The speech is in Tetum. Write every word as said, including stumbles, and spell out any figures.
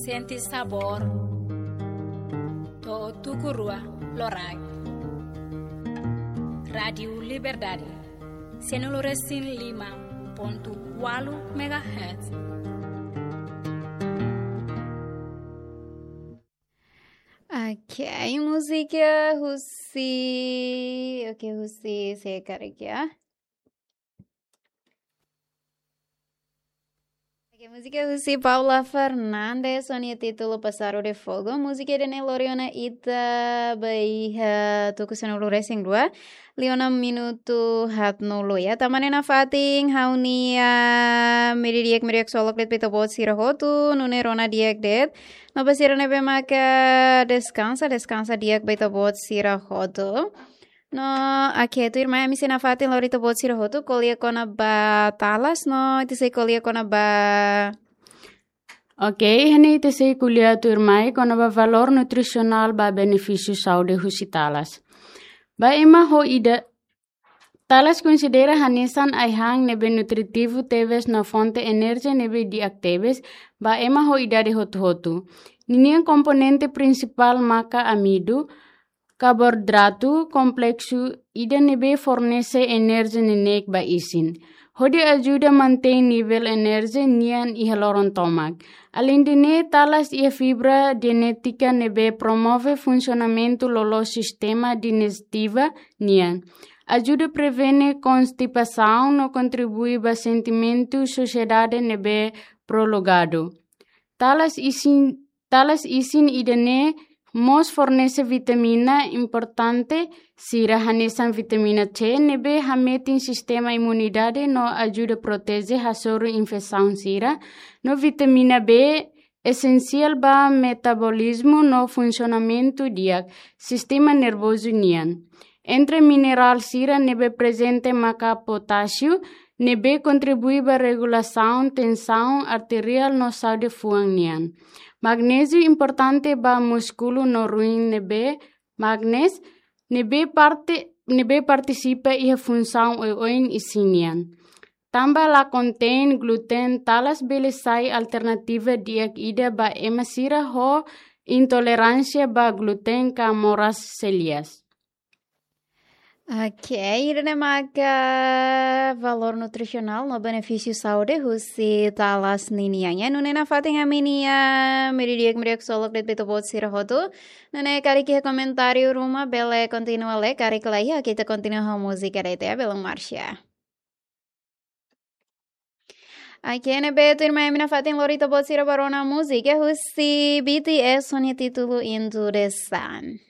Sente sabór to'o tuku rua loraik. Rádiu Liberdade, sanulu-resin-lima pontu ualu megahertz. Ok, múzika husi, ok, husi, se karik ya. Ok, múzika husi Paula Fernandes, ho nia títulu Passado de Fogo. Múzika ida-ne'e lori ona ita ba iha tuku sanulu-resin-rua, liu ona minutu haatnulu ya. Tanba ne'e nafatin ha'u-nia meri di'ak, meri di'ak ksolok de'it ba ita-boot sira hotu, nune'e rona di'ak de'it. No ba sira ne'ebé maka deskansa, deskansa di'ak ba ita-boot sira hotu. No, ok, tuirmai ami sei nafatin lori ita-boot sira hotu ko'alia kona-ba talas, no ita sei ko'alia kona-ba. Ok, iha ne'e ita sei ko'alia tuirmai kona-ba valór nutrisionál ba benefísiu saúde husi talas. Ba ema ho ida-, talas konsidera hanesan ai-han ne'ebé nutritivu tebes no fonte enerjia ne'ebé di'ak tebes ba ema ho idade hotu-hotu. Ninia komponente prinsipál maka amidu, karboidratu kompleksu ida ne'ebé fornese enerjia neineik ba isin, hodi ajuda mantein nivel enerjia nian iha loron tomak. Aleinde ne'e, talas iha fibra jenétika ne'ebé promove funsionamentu loloos sistema dijestiva nian, ajuda prevene konstipasaun no kontribui ba sentimentu sasiedade ne'ebé prolongadu. Talas isin, talas isin ida-ne'e mós fornese vitamina importante sira hanesan vitamina C ne'ebé hametin sistema imunidade no ajuda proteje hasoru infesaun sira, no vitamina B esensiál ba metabolizmu no funsionamentu di'ak sistema nervozu nian. Entre minerál sira ne'ebé prezente maka potásiu, ne'ebé kontribui ba regulasaun tensaun arteriál no saúde fuan nian. Magnéziu importante ba múskulu no ruin ne'ebé, magnés, ne'ebé parte, ne'ebé partisipa iha funsaun oioin isin nian. Tanba la kontein gluten, talas bele sai alternativa di'ak ida ba ema sira ho intoleránsia ba gluten ka moras seliak. Ok, ida-ne'e maka valór nutrisionál no benefísiu saúde husi talas ninian. Ya, nune'e nafatin ami-nia meri di'ak, meri di'ak ksolok de'it ba ita-boot sira hotu. Nune'e karik iha komentáriu ruma bele kontinua lai, karik la iha, ita kontinua ho múzika de'it ya, belun Marsha. Ok, ne'ebé tuirmai ami nafatin lori ita-boot sira ba rona múzika husi B T S ho nia títulu Into the Sun.